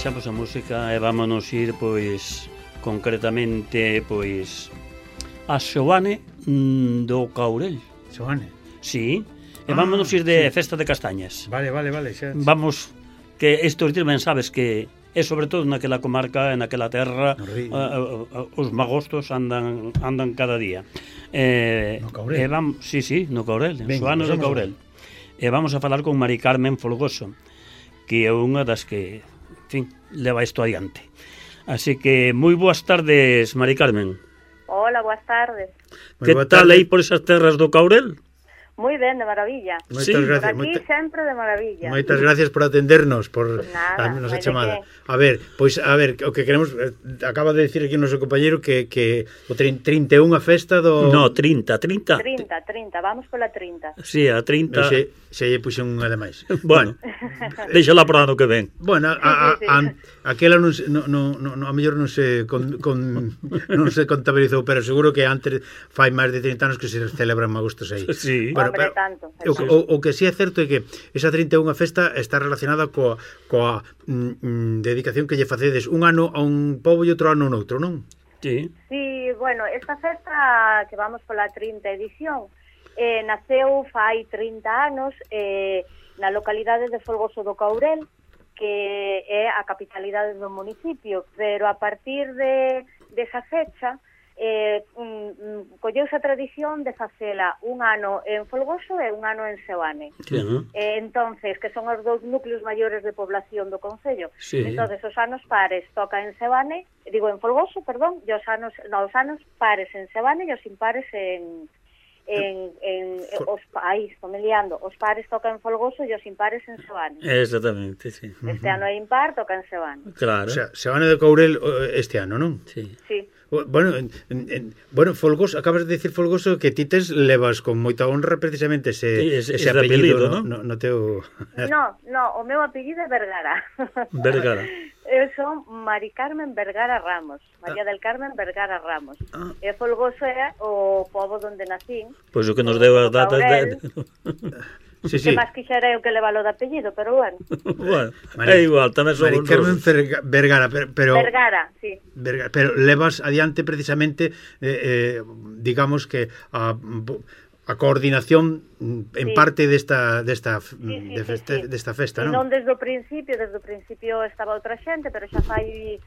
deixamos a música e vámonos ir, pois, concretamente, pois, a Xoane do Caurel. Xoane? Sí, e vámonos ir de festa de castañas. Vale, xa. Vamos, que estes días ben sabes que e sobre todo naquela comarca, naquela terra, os magostos andan cada día. No Caurel? Sí, no Caurel, en Xoane do Caurel. E vamos a falar con Mari Carmen Folgoso, que é unha das que, en fin, leva isto adiante. Así que, moi boas tardes, Mari Carmen. Hola, boas tardes. Que tal aí por esas terras do Caurel? Moi ben, de maravilla. Moitas gracias. Por aquí sempre de maravilla. Moitas gracias por atendernos, por nada, a nosa chamada. A ver, o que queremos, acaba de decir aquí o noso compañeiro que o 31 a festa do... No, 30, vamos pola 30. Sí, a 30. Se lle puxo unha de máis. Bueno, déxala para ano que ven. Bueno, aquela a mellor non se contabilizou, pero seguro que antes fai máis de 30 anos que se celebran magostos aí. Sí. Bueno, pero tanto. O que sí é certo é que esa 31 festa está relacionada coa dedicación que lle facedes un ano a un pobo e outro ano a outro, non? Sí. Sí, bueno, esta festa que vamos pola 30 edición naceu fai 30 anos na localidade de Folgoso do Caurel, que é a capitalidade do municipio, pero a partir desa fecha colleuse a tradición de facela un ano en Folgoso e un ano en Xoane. Entonces, que son os dous núcleos maiores de población do concello. Sí. Entonces, os anos pares toca en Xoane, digo en Folgoso, perdón, e os anos pares en Xoane e os impares estou me liando, os pares tocan en Folgoso e os impares en Xoane. Exactamente, sí. Este ano é impar, toca en Xoane. Claro. O sea, Xoane do Caurel este ano, non? Sí. Sí. Bueno, Folgoso, acabas de decir Folgoso que ti levas con moita honra precisamente ese apellido, non? No teu... No, o meu apellido é Vergara. Vergara. Eu son Mari Carmen Vergara Ramos, María del Carmen Vergara Ramos. E Folgoso é o pobo onde nacín. Pois o que nos deu as datas de... Sí. Que máis quixera eu que levalo de apellido, pero bueno. Bueno, é igual, tamén somos Mari Carmen Vergara, pero... Vergara, sí. Pero levas adiante precisamente, digamos que a coordinación en parte desta festa, non? Non desde o principio estaba outra xente, pero xa fai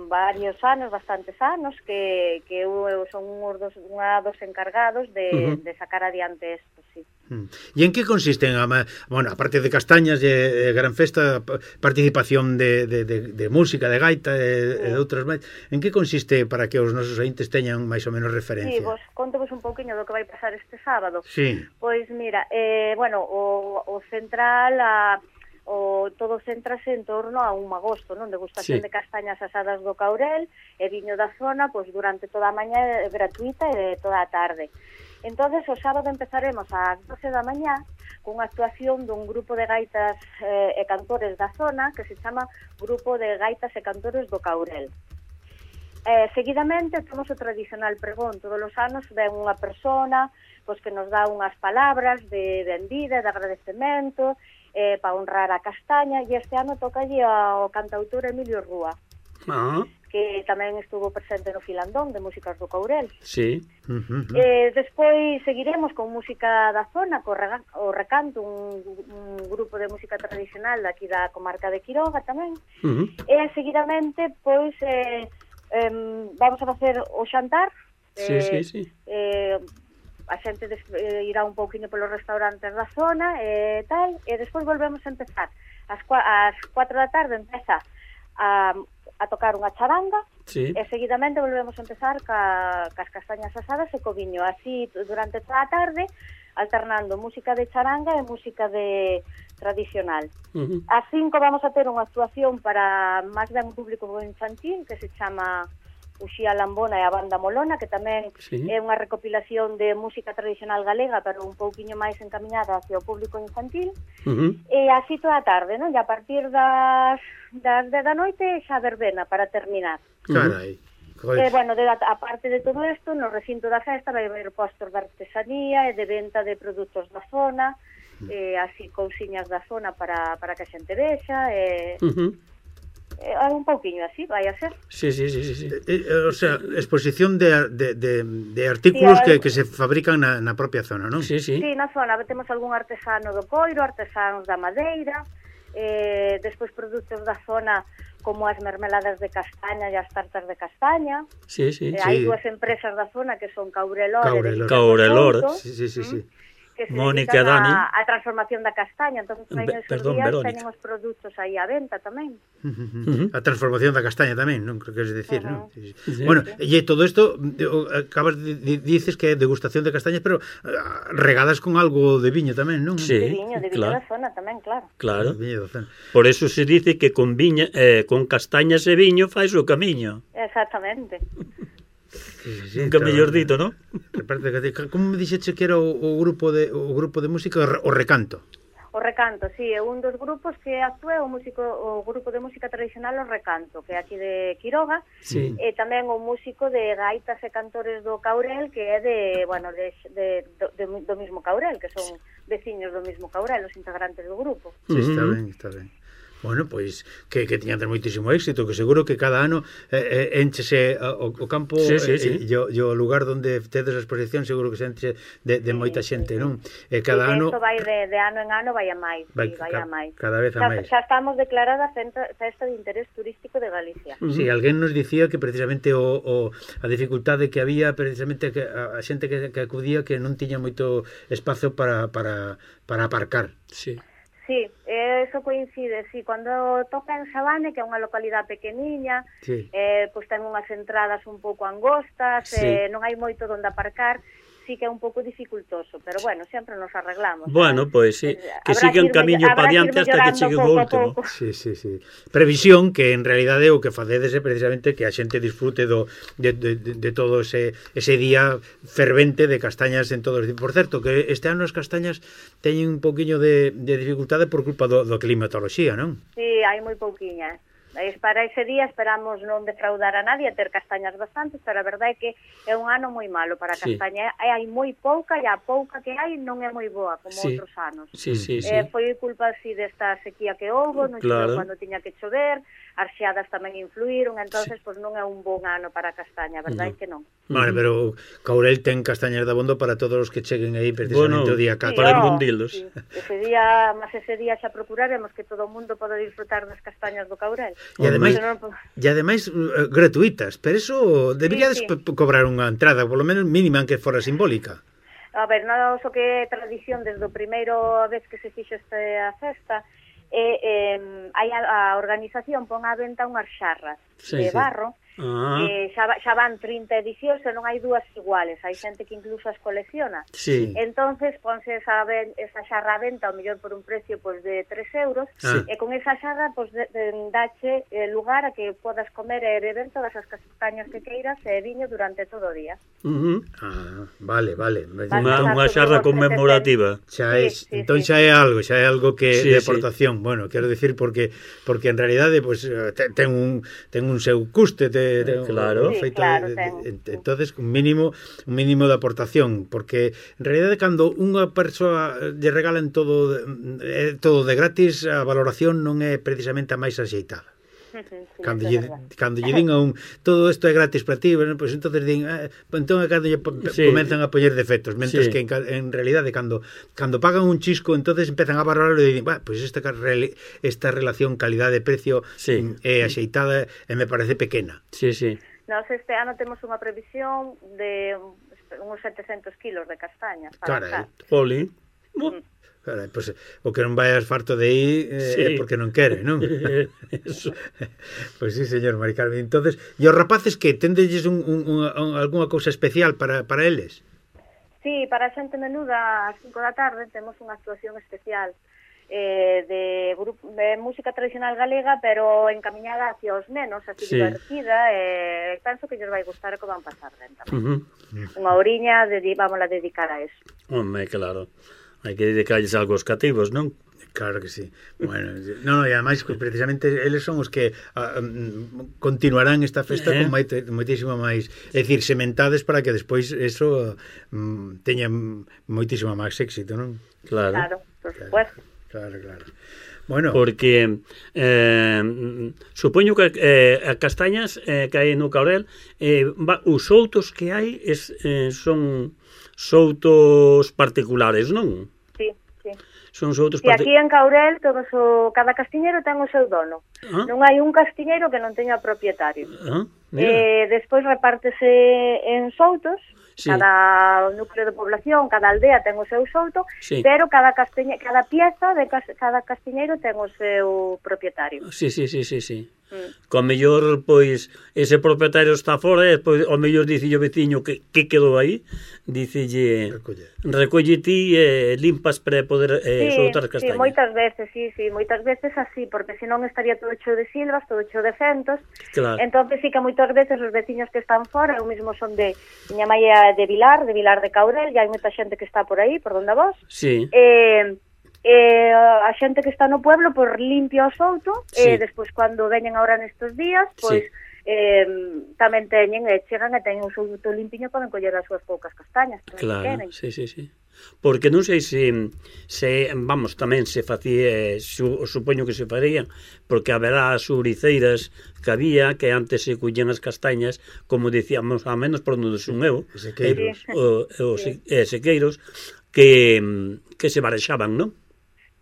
varios anos, bastantes anos, que eu son unha dos encargados de sacar adiante isto, sí. E en que consisten, bueno, aparte de castañas e gran festa, participación de música, de gaita e de outras máis, en que consiste para que os nosos ointes teñan máis ou menos referencia? Sí, contovos un pouquiño do que vai pasar este sábado. Sí. Pois mira, bueno, o central, todo céntrase en torno a un magosto, non? Degustación de castañas asadas do Caurel e viño da zona, pois durante toda a mañá gratuita e toda a tarde. Entonces, o sábado empezaremos ás 12 da mañá cunha actuación dun grupo de gaitas e cantores da zona que se chama Grupo de Gaitas e Cantores do Caurel. Seguidamente, temos o tradicional pregón. Todos os anos ven unha persona pois, que nos dá unhas palabras de benvida, de agradecemento, para honrar a castaña, e este ano tocalle ao cantautor Emilio Rúa, que tamén estuvo presente no Filandón de Músicas do Caurel. Sí. Despois seguiremos con música da zona, o Recanto, un grupo de música tradicional daqui da comarca de Quiroga tamén. E seguidamente, pois, vamos a facer o xantar. Sí. A xente irá un pouquinho polos restaurantes da zona e tal, e despois volvemos a empezar. Ás 4 da tarde empeza a tocar unha charanga, sí. E seguidamente volvemos a empezar cas castañas asadas e co viño, así durante toda a tarde, alternando música de charanga e música de tradicional. Ás 5 vamos a ter unha actuación para máis ben un público infantil que se chama Uxía Lambona e a Banda Molona, que tamén é unha recopilación de música tradicional galega, pero un pouquiño máis encamiñada hacia o público infantil. E así toda a tarde, non? E a partir das 10 da noite xa verbena para terminar. Carai. Bueno, a parte de todo isto, no recinto da festa vai haber postos de artesanía e de venta de produtos da zona, así cousiñas da zona para que a xente vexa, un pouquiño así, vai a ser. Sí. O sea, exposición de artículos que se fabrican na propia zona, non? Sí. Sí, na zona temos algún artesano do coiro, artesanos da madeira, despois produtos da zona como as mermeladas de castaña e as tartas de castaña. Sí. Hai dúas empresas da zona que son Caurelor. Sí. Que se Mónica dedican Dani. a transformación da castaña, entón teñen os produtos aí á venta tamén. A transformación da castaña tamén, non? Creo que es decir, non? Sí. Bueno, e todo isto acabas dices que é degustación de castañas, pero regadas con algo de viño tamén, non? Sí, De viño da zona tamén, claro. Claro. Por eso se dice que con viña, con castañas e viño fais o camiño. Exactamente. Sí, nunca mellor dito, non? Como me dixeche que era o grupo de música o Recanto? O Recanto, sí, é un dos grupos que actúa o grupo de música tradicional o Recanto, que é aquí de Quiroga, e tamén o músico de gaitas e cantores do Caurel, que é do mismo Caurel, que son veciños do mismo Caurel, os integrantes do grupo. Sí, está ben. Bueno, pois que tiñan moitísimo éxito, que seguro que cada ano enchese o campo e o lugar onde tedes a exposición seguro que se enche de moita xente, non? E cada ano isto vai de ano en ano vai a máis, vai a máis. Cada vez a máis. Xa estamos declarada festa de interés turístico de Galicia. Sí, alguén nos dicía que precisamente a dificultade que había precisamente que a xente que acudía que non tiña moito espazo para aparcar. Sí. Sí, eso coincide, sí, cando toca en Sabane, que é unha localidade pequeniña, pois ten unhas entradas un pouco angostas, non hai moito onde aparcar, sí que é un pouco dificultoso, pero bueno, sempre nos arreglamos. Bueno, pois sí, que siga un camiño pa diante hasta que chegue o último. Sí. Previsión que en realidade o que facedes é precisamente que a xente disfrute de todo ese día fervente de castañas en todos. Por certo, que este ano as castañas teñen un poquinho de dificultade por culpa do climatoloxía, non? Sí, hai moi pouquiñas. Para ese día esperamos non defraudar a nadie, ter castañas bastantes, pero a verdade é que é un ano moi malo para a castaña. Hai moi pouca, e a pouca que hai non é moi boa, como outros anos. Sí. Foi culpa así desta sequía que houve, non choveu cando tiña que chover, as xeadas tamén influíron, entonces pois non é un bon ano para a castaña, a verdade é que non. Vale, pero Caurel ten castañas de abondo para todos os que cheguen aí precisamente o día 4. Para embundilos. Sí. Ese día xa procuraremos que todo o mundo poda disfrutar das castañas do Caurel. E ademais gratuitas, pero eso deberíades cobrar unha entrada, polo menos mínima, que fora simbólica. A ver, nós o que é tradición desde o primeiro vez que se fixo esta festa, a organización pon á venta unhas xarras de barro, xa van 30 edicións e non hai dúas iguales, hai xente que incluso as colecciona. Entonces ponse esa xarra a venta ao mellor por un precio de 3 euros, e con esa xarra dache lugar a que podas comer e beber todas as castañas que queiras e viño durante todo o día. Vale. Unha xarra conmemorativa. Entón xa é algo que de aportación. Bueno, quero dicir porque en realidade ten un seu custe, claro, entonces un mínimo de aportación, porque en realidade cando unha persoa lle regalan todo de gratis, a valoración non é precisamente a máis axeitada. Cando lle din a un todo isto é gratis para ti, pois entonces din entón cando lle comenzan a poñer defectos, mentres que en realidade cando pagan un chisco, entonces empezan a valorarlo e din, pois esta relación calidade-precio é axeitada e me parece pequena. Nós este ano temos unha previsión de uns 700 kilos de castañas para cá. Oli. Pois o que non vayas farto de aí é porque non quere, non? Pois sí, señor Mari Carmen. Entonces, e os rapaces que tendelles algunha cousa especial para eles? Sí, para a xente menuda ás 5 da tarde temos unha actuación especial de música tradicional galega, pero encamiñada hacia os nenos, así divertida, e penso que lles vai gustar que van pasar ben tamén. Unha horiña vamos a dedicar a eso. Home, claro. Hai que dedicarles algo aos cativos, non? Claro que sí. Bueno, e ademais precisamente eles son os que continuarán esta festa con moitísimo máis, é dicir, sementades para que despois eso teña moitísimo máis éxito, non? Claro, por supuesto. Claro, claro. Bueno, porque supoño que a castañas que hai no Caurel, os soutos que hai son soutos particulares, non? Sí, sí. Son soutos aquí en Caurel cada castiñeiro ten o seu dono. Non hai un castiñeiro que non teña propietario. Despois repártese en soutos. Sí. Cada núcleo de población, cada aldea ten o seu souto, sí. Pero cada pieza de cada castiñeiro ten o seu propietario. Sí. Con mellor, pois, ese propietario está fora e pois, o mellor dice o veciño que quedou aí, dicelle recolle ti e limpas para poder soltar as castañas. Sí, moitas veces así, porque senón estaría todo hecho de silvas, todo hecho de fentos. Claro. Entonces sí que moitas veces os veciños que están fora, eu mesmo son de miña mãe de Vilar de Caurel, e hai moita xente que está por aí, por donde vos. Sí. A xente que está no pueblo por limpia o souto, sí. Despois cando veñen ahora nestes días, pois sí. Tamén chegan e teñen o souto limpiño, poden coller as súas poucas castañas. Claro, sí. Porque non sei se tamén se facía, supoño que se farían, porque haberá as ouriceiras que había, que antes se collían as castañas, como dicíamos, a menos por onde son eu, sequeiros, que se barexaban, non?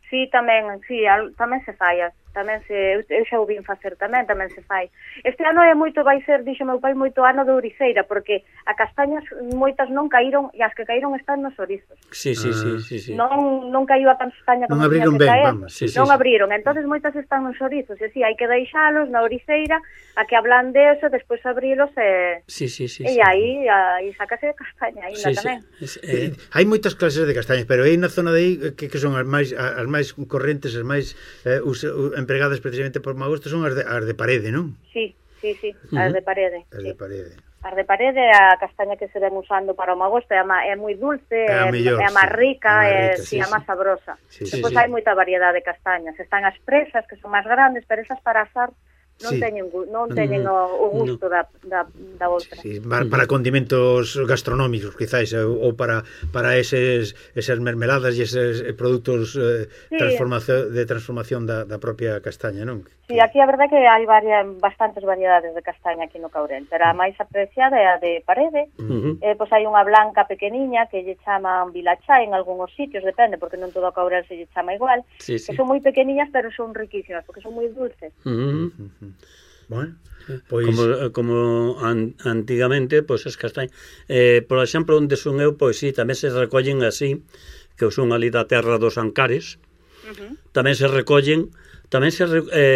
Sí, tamén se fai, eu xa o vin facer tamén se fai. Este ano vai ser, dixo meu pai, moito ano de ouriceira, porque a castañas moitas non caíron, e as que caíron están nos orizos. Sí. Non caiu a castaña como tiña que caer, non abriron, entonces moitas están nos orizos, e si, hai que deixalos na ouriceira, a que ablande eso, despois abrilos e aí sácase castaña, ainda tamén. Hai moitas clases de castañas, pero aí na zona de aí, que son as máis correntes, as máis empregadas precisamente por Magosto, son as de parede, non? Sí, as de parede. As de parede. As de parede é a castaña que se ven usando para o Magosto, é moi dulce, é a máis rica, é a máis sabrosa. Depois hai moita variedade de castañas. Están as presas, que son máis grandes, pero esas para asar non teñen o gusto da outra. Sí, para condimentos gastronómicos, quizás, ou para esas mermeladas e eses produtos de transformación da propia castaña, non? Sí, aquí a verdade que hai bastantes variedades de castaña aquí no Caurel, pero a máis apreciada é a de parede. Pois hai unha blanca pequeniña que lle chaman vilachá en algúns sitios, depende, porque non todo o Caurel se lle chama igual, que son moi pequeniñas, pero son riquísimas, porque son moi dulces. Bueno, pois como antigamente, pois as castañas, por exemplo, onde son eu, pois sí, tamén se recollen así, que son ali da terra dos Ancares. Tamén se recollen,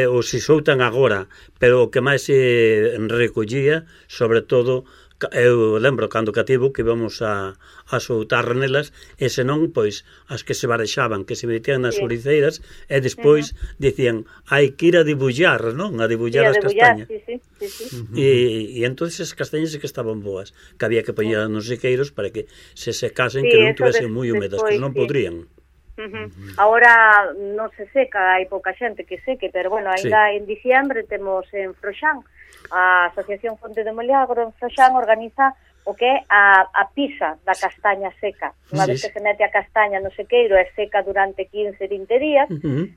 ou se soltan agora, pero o que máis se recollía, sobre todo, eu lembro cando cativo que íbamos a soltar nelas, e senón, pois, as que se barexaban, que se metían nas ouriceiras, e despois dicían, hai que ir a debullar, non? A debullar as castañas. E entón as castañas que estaban boas, que había que poñer nos sequeiros para que se secasen, que non tuvesen moi húmedas, que non podrían. Ahora non se seca, hai pouca xente que seque, pero bueno, ainda en diciembre temos en Froxán, a Asociación Fonte de Moliagro en Froxán organiza o que é a pisa da castaña seca. Unha vez que se mete a castaña no sequeiro é seca durante 15-20 días,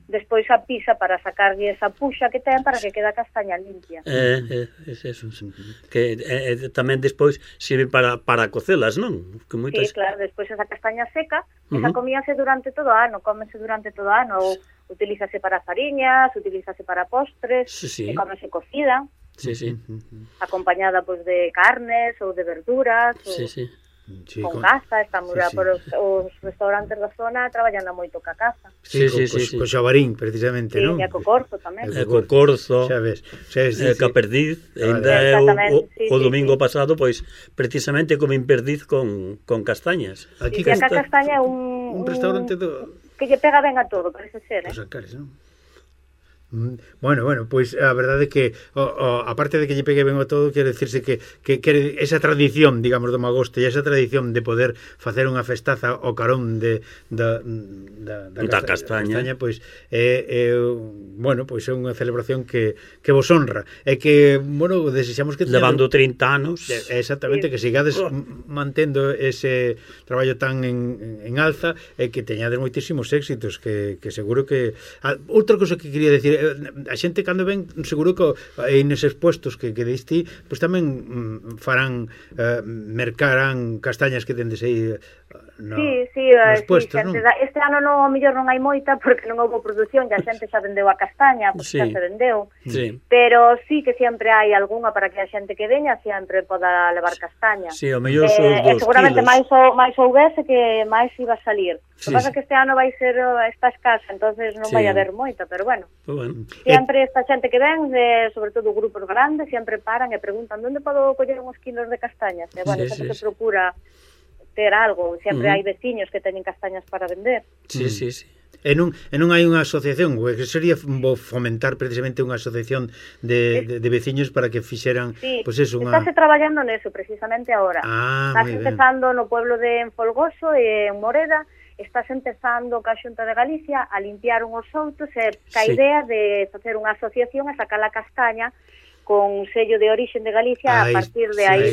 despois a pisa para sacarlle esa puxa que ten para que quede a castaña limpia. Eso. Que tamén despois sirve para cocelas, non? Que moitas... Sí, claro, despois esa castaña seca, esa comíase durante todo o ano, cómese durante todo o ano, ou utilízase para fariñas, utilízase para postres, e cómese cocida. Acompañada pois de carnes ou de verduras ou con caza. Estamos por os restaurantes da zona traballando moito ca caza. Co xabarín, precisamente, non? E co corzo tamén. Co corzo, xa ves, ca perdiz. O domingo pasado, pois, precisamente comín perdiz con castañas. Aquí a castaña é un restaurante que lle pega ben a todo, parece ser, Os Ancares, non? Bueno, pois a verdade é que aparte de que lle pegue ben o todo, quere decirse que esa tradición, digamos, do magosto e esa tradición de poder facer unha festaza ao carón da castaña, pois bueno, pois é unha celebración que vos honra e que, bueno, desexamos que levando 30 anos exactamente, que sigades mantendo ese traballo tan en alza e que teñades moitísimos éxitos que seguro que outra cosa que quería decir, a xente cando ven seguro que neses puestos que diste, pois tamén farán mercarán castañas que tendes aí nos puestos, non? Este ano non, ao mellor non hai moita porque non houve produción, a xente xa vendeu a castaña, porque xa se vendeu, pero sí que sempre hai algunha para que a xente que veña sempre poda levar castaña. Sí, ao mellor son os 2 seguramente máis houvese que máis iba a salir. O que pasa que este ano vai ser esta escasa, entonces non vai haber moita, pero bueno. Sempre esta xente que ven, sobre todo grupos grandes, sempre paran e preguntan onde podo coller uns kilos de castañas. E bueno, sempre se procura ter algo, sempre hai veciños que teñen castañas para vender. Sí. E non hai unha asociación, que sería fomentar precisamente unha asociación de veciños para que fixeran, pois eso, unha... Estáse traballando neso precisamente agora. Estás empezando no pueblo de Folgoso e en Moreda, estás empezando ca Xunta de Galicia a limpiar unhos outos e ca idea de facer unha asociación e sacar a castaña con sello de origen de Galicia a partir de aí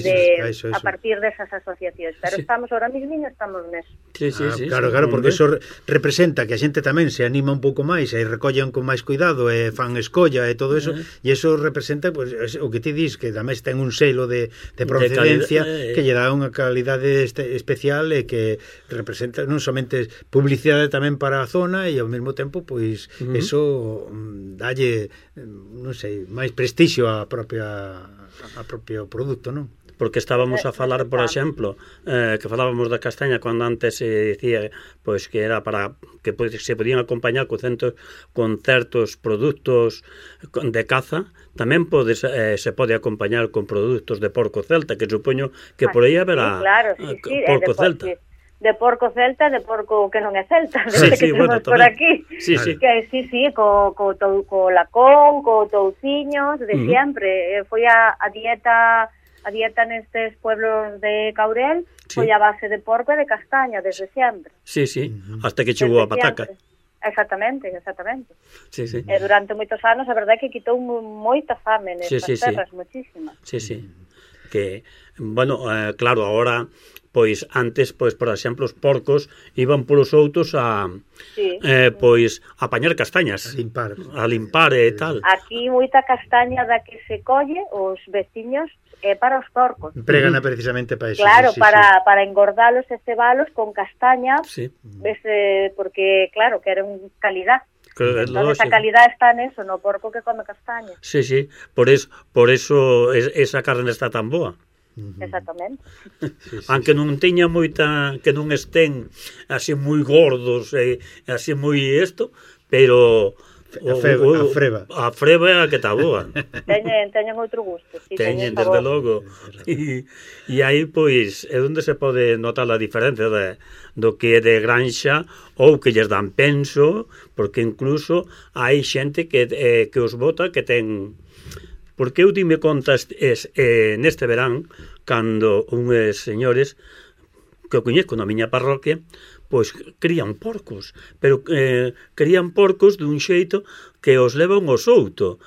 a partir desas asociacións, pero estamos ahora mismo estamos neso. Claro, porque eso representa que a xente tamén se anima un pouco máis e recollen con máis cuidado e fan escolla e todo eso, e eso representa pues, o que ti dis, que tamén ten un selo de procedencia que lle dá unha calidade especial e que representa non somente publicidade tamén para a zona e ao mesmo tempo pois eso dalle non sei, máis prestixio a propio produto, non? Porque estábamos a falar, por exemplo, que falábamos da castaña cando antes se dicía pois que era para que se podían acompañar con certos produtos de caza, tamén se pode acompañar con produtos de porco celta, que supoño que por aí haberá porco celta. De porco celta, de porco que non é celta, que temos por aquí. Que co lacón, co touciños, de sempre. Foi a dieta nestes pueblos de Caurel, foi a base de porco e de castaña, desde sempre. Hasta que chegou a pataca. Exactamente. E durante moitos anos, a verdade é que quitou moita fame nestas terras, moitísima. Que, bueno, claro, agora... Pois antes, pois por exemplo, os porcos iban polos outos a pois a apañar castañas, a limpar e tal. Aquí moita castaña da que se colle os veciños é para os porcos. Pregana precisamente para eso. Claro, para engordalos e cebalos con castaña, porque claro, queren calidad. Entón, esa calidad está neso, no porco que come castaña. Por eso esa carne está tan boa. Exactamente. Aunque non teña moita, que non estén así moi gordos e así moi isto, pero a freba é a que está boa. Teñen outro gusto. Teñen, desde logo. E aí, pois, é onde se pode notar a diferencia do que é de granxa ou que lles dan penso, porque incluso hai xente que os bota que ten... Porque eu dime contas neste verán, cando unhos señores que o coñezco na miña parroquia, pois crían porcos, pero crían porcos dun xeito que os levan ao souto.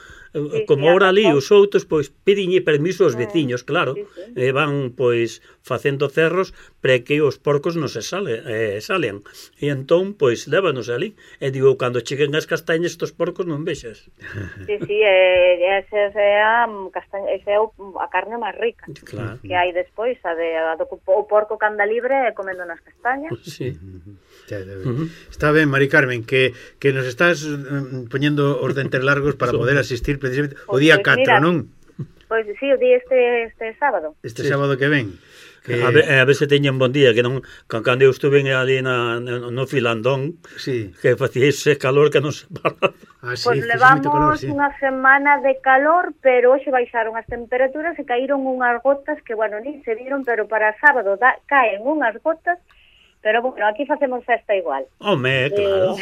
Como ahora ali os outros pois pediñe permiso aos veciños, claro, e van pois facendo cerros para que os porcos non se salen. E entón pois lévanos ali. E digo, cando cheguen as castañas estos porcos non vexas. Esa é a carne máis rica que hai despois, o porco que anda libre comendo nas castañas. Está ben, Mari Carmen, que nos estás poñendo os dentes largos para poder asistir precisamente o día 4, non? Pois sí, o día este sábado. Este sábado que ven. A ver se teñen bon día, que non, cando eu estuve ali no Filandón, que facía ese calor que non se paraba. Pois levamos unha semana de calor, pero hoxe baixaron as temperaturas e caíron unhas gotas que, bueno, ni se viron, pero para sábado caen unhas gotas Pero, bueno, aquí facemos festa igual. Home, claro.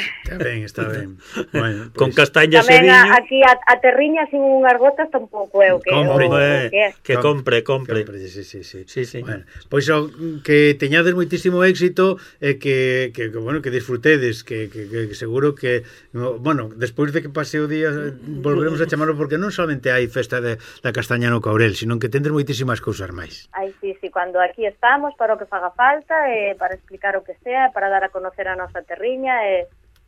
Está ben. Bueno, con castañas e tamén viño. aquí a terriña sin unhas botas tampouco é o que Que compre. Sí. Bueno, pois que teñades moitísimo éxito e que bueno, que disfrutedes, que seguro que bueno, despois de que pase o día volveremos a chamarlo, porque non solamente hai festa da castaña no Caurel, sino que tendes moitísimas cousas máis. Ai, sí, cuando aquí estamos para o que faga falta, para explicar o que sea, para dar a conocer a nosa terriña,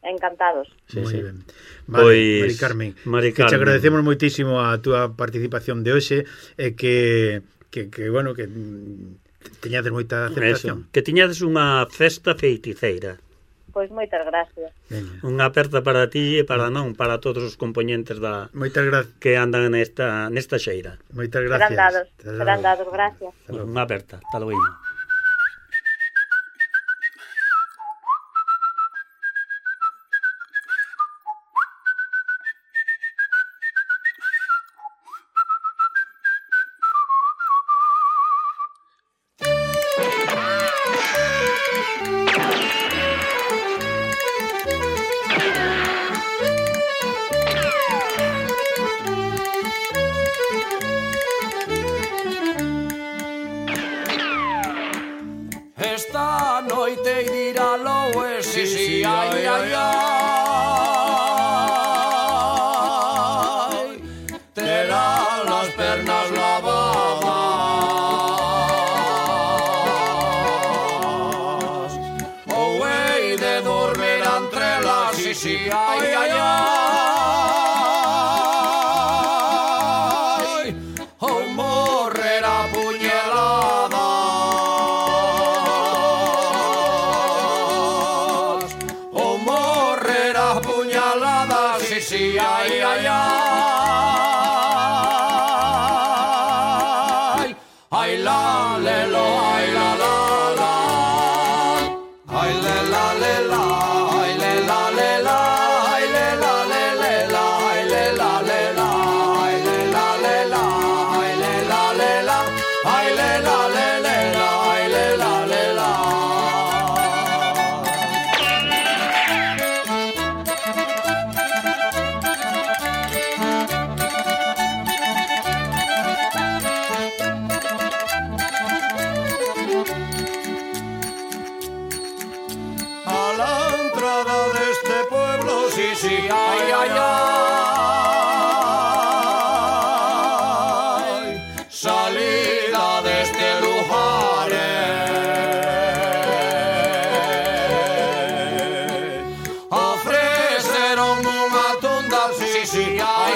encantados. Moi ben. Vale, Mari Carmen, que te agradecemos moitísimo a túa participación de hoxe e que bueno, que teñades moita aceptación. Que tiñades unha festa feiticeira. Pois moitas gracias. Unha aperta para ti e para todos os componentes que andan nesta xeira. Moitas gracias. Serán dados, gracias. Unha aperta, hasta logo. Esta noite dirá loe, sí, ai, terá las pernas lavadas, ou hei de dormir entre las, sí, ai, ou morrer a puñaladas, ou morrer a puñaladas, sí, ai, ai, la, lelo, ai, la, ai, le, la, ai, le, la, ai, le, la, ai, le, la, ai, le, la, ai, le, la, ai, le, la, ai, le, la, a la entrada de este pueblo, sí, ay, salida de este lugar, ofreceron unha tunda, sí, ay,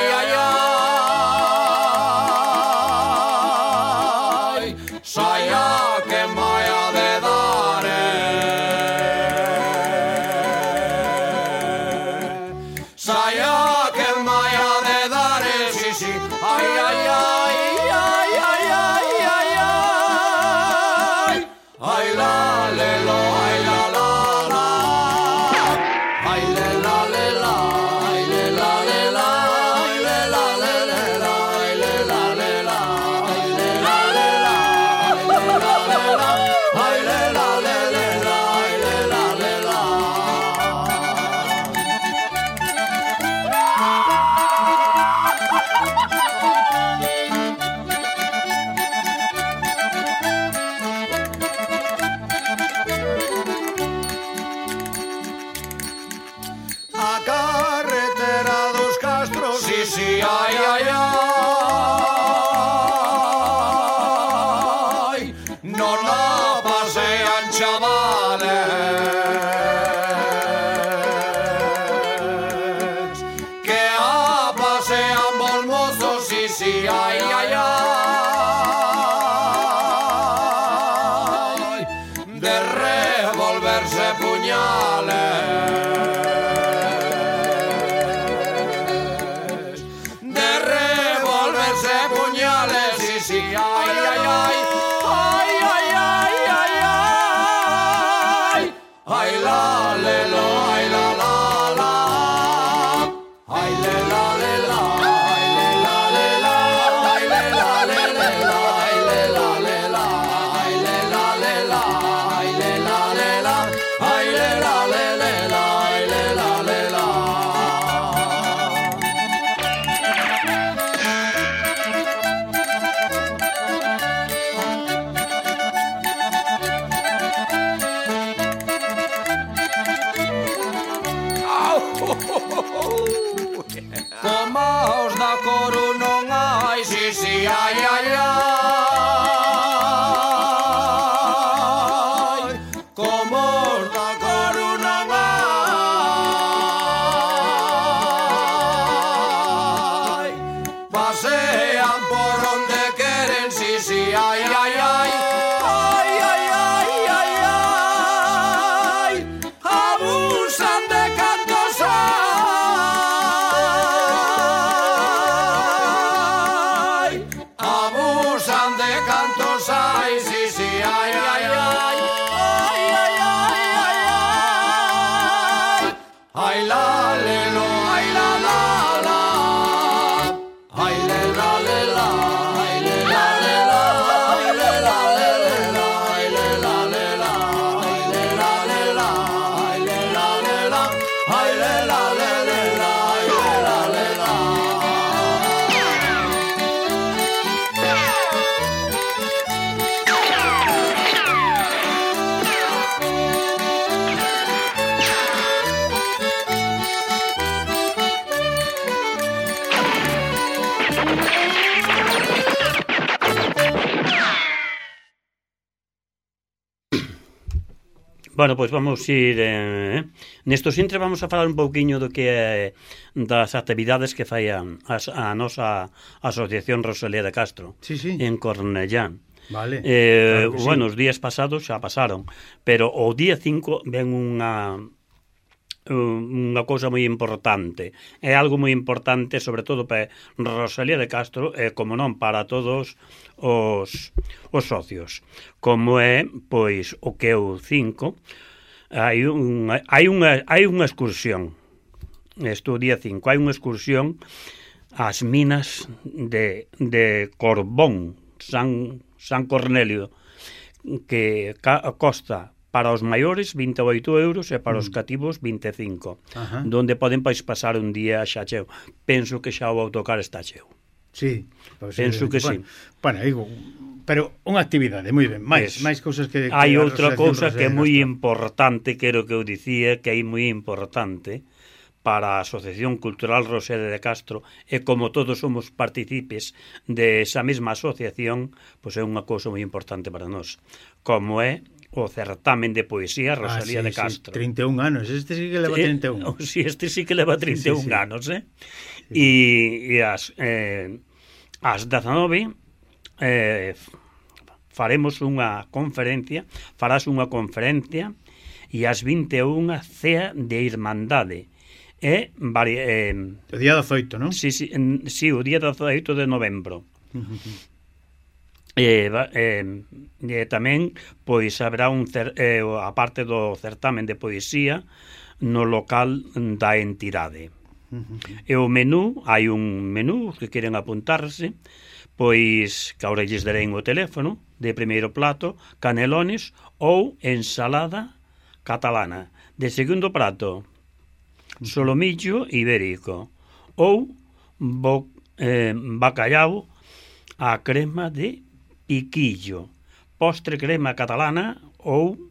saia que mai ha de dar, saia que mai ha de dar, sí, ai, la, lelo, ai, la, ai, le, la, ai, le, la, ai, le, la, ai, le, la, ai, le, la, ai, le, la, ai, le, la, a carretera dos Castros, sí, ai, non la pasean chavales, que a pasean bolmozos, sí, ai, de revolverse puñales, de Como os da Coru non hai, si, si, ai, ai, ai. Como os da Coru non hai. Pasean por onde queren, si, si, ai, ai, ai. Ai, ai, ai, ai, ai. Abusan de cantos hai. Abusan de cantos hai, si, si, ai, ai, ai. Ai, ai, ai, ai, ai. Ai, la, le, lo, ai, la, la, la. Ai, le, la, le, la. Ai, le, la, le, la. Ai, le, la, le, le, la. Ai, le, la, le, la. Ai, le, la, le, la. Ai, le, la, le, la. Ai, le, la, le, le, la. Ai, le, la, le, la. Bueno, pois vamos ir nestos intres vamos a falar un pouquiño do que é das actividades que fai a nosa Asociación Rosalía de Castro Sí, sí. en Cornellá. Vale, claro que sí. Bueno, os días pasados xa pasaron, pero o día 5 ven unha cousa moi importante. É algo moi importante, sobre todo para Rosalía de Castro e, como non, para todos os socios. Como é, pois, o que é o 5, hai unha excursión. Isto o día 5, hai unha excursión ás minas de Corbón, San Cornelio, que costa para os maiores 28 euros e para os cativos 25. Ajá. Donde poden pasar un día xa cheo. Penso que xa o autocar está cheo. Sí, Penso que sí. Bueno, digo, pero unha actividade, moi ben, máis cousas que hai outra cousa que é moi Castro. importante, quero que eu dicía, que é moi importante para a Asociación Cultural Rosalía de Castro, e como todos somos partícipes de esa mesma asociación, pois é unha cousa moi importante para nós, como é o certamen de poesía Rosalía de Castro. Sí, 31 anos, este sí que leva 31. Sí, este sí que leva 31 sí. anos, E as 19 faremos unha conferencia, farás unha conferencia, e as 21 cea de Irmandade. O día 18, non? Sí, o día 18 de novembro. Tamén, pois, haberá a parte do certamen de poesía no local da entidade. E o menú, hai un menú que queren apuntarse, pois que ahora lles darei o teléfono, de primeiro plato, canelones ou ensalada catalana. De segundo prato, solomillo ibérico ou bacallau a crema de piquillo, postre crema catalana ou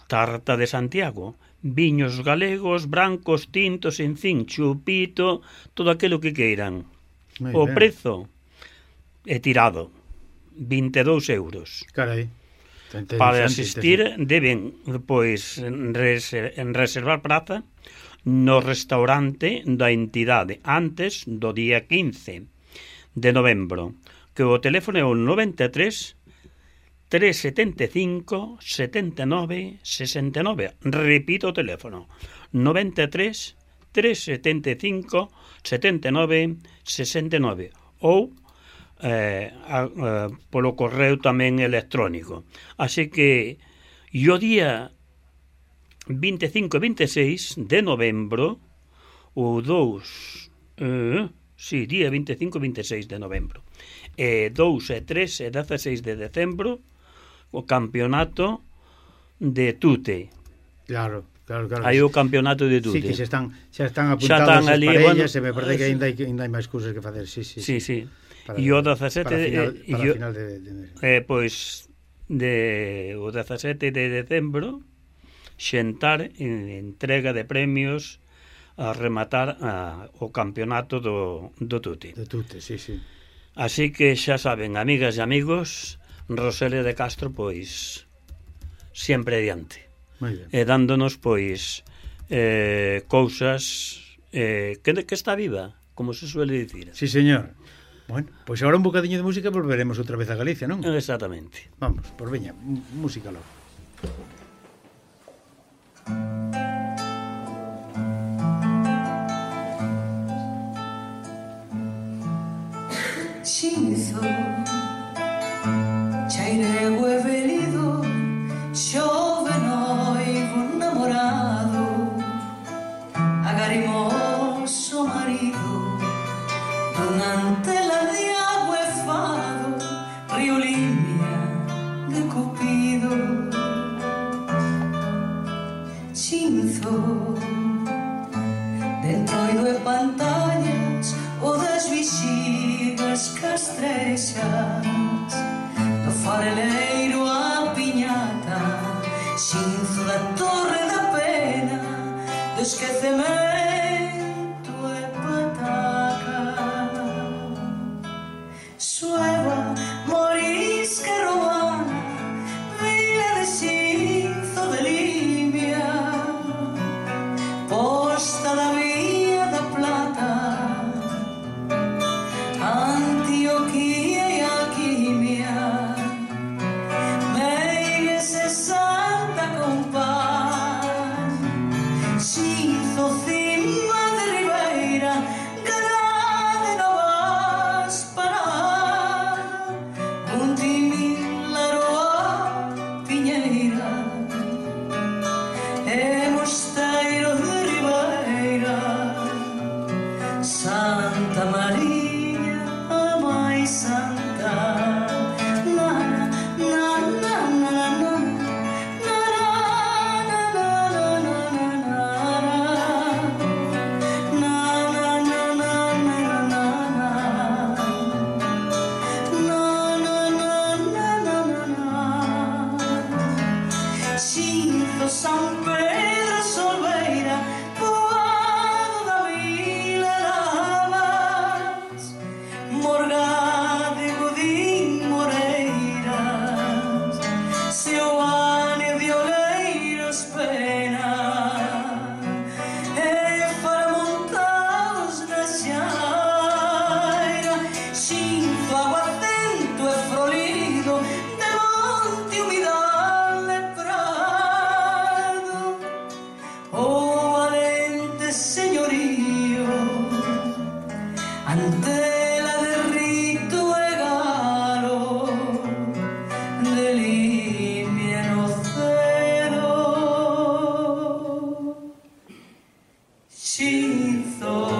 tarta de Santiago, viños galegos, brancos, tintos, en fin, chupito, todo aquilo que queiran. O prezo é tirado, 22 euros. Carai. Para asistir deben, pois, reservar praza no restaurante da entidade antes do día 15 de novembro, que o teléfono é o 93 375 79 69. Repito o teléfono, 93 375 79 69, ou polo correo tamén electrónico. Así que o día 25 e 26 de novembro, o 2 día 25 e 26 de novembro, 2 e 3 e 16 de decembro, o campeonato de tute. Claro. Hai o campeonato de tute. Sí, que xa están apuntados as parellas, e me parece que ainda hai máis cousas que facer. Sí. E o 17 para final de pois o 17 de decembro, xentar en entrega de premios a rematar o campeonato do Tuti. Do Tuti, sí, sí. Así que xa saben, amigas e amigos, Rosalía de Castro, pois, sempre adiante. E dándonos, pois, cousas que está viva, como se suele dicir. Sí, señor. Bueno, pois agora un bocadiño de música, volveremos outra vez a Galicia, non? Exactamente. Vamos, por veña, música logo. Xinzo, chairego e venido, xove noivo namorado, agarimoso marido, dun antela de agua e fado, río Limia de Cupido. Xinzo, dentroido e pantallas, o das vixigas castrexas, do fareleiro a piñata, xinzo da torre da pena, do esquecemento e pataca. Sueva, morisca e romana, vila de xinzo de Limia, posta da vía da plata, Antioquía e alquimia, Meigues e Santa Compán, Xinzo, cima de Ribeira, Grade Novas Parada, Puntimil, Laroa, Piñeira e Mosteiro de Ribeira, Santa María, a máis santa. Na, na, na, na, na, na, na, na, na, na, na, Xinzo, San Pedro, Solveira, Poado da Vila Lavas, Morgade, Godín, Moreiras, Seoane de Oleiros, Pena e Faramontados na Xaira, Xinzo, Aguacento e Frolido, de Monte Humidal e Prado, o valente señorío, Antela de Rito e Galo, de Limia no Cedo. Xinzo,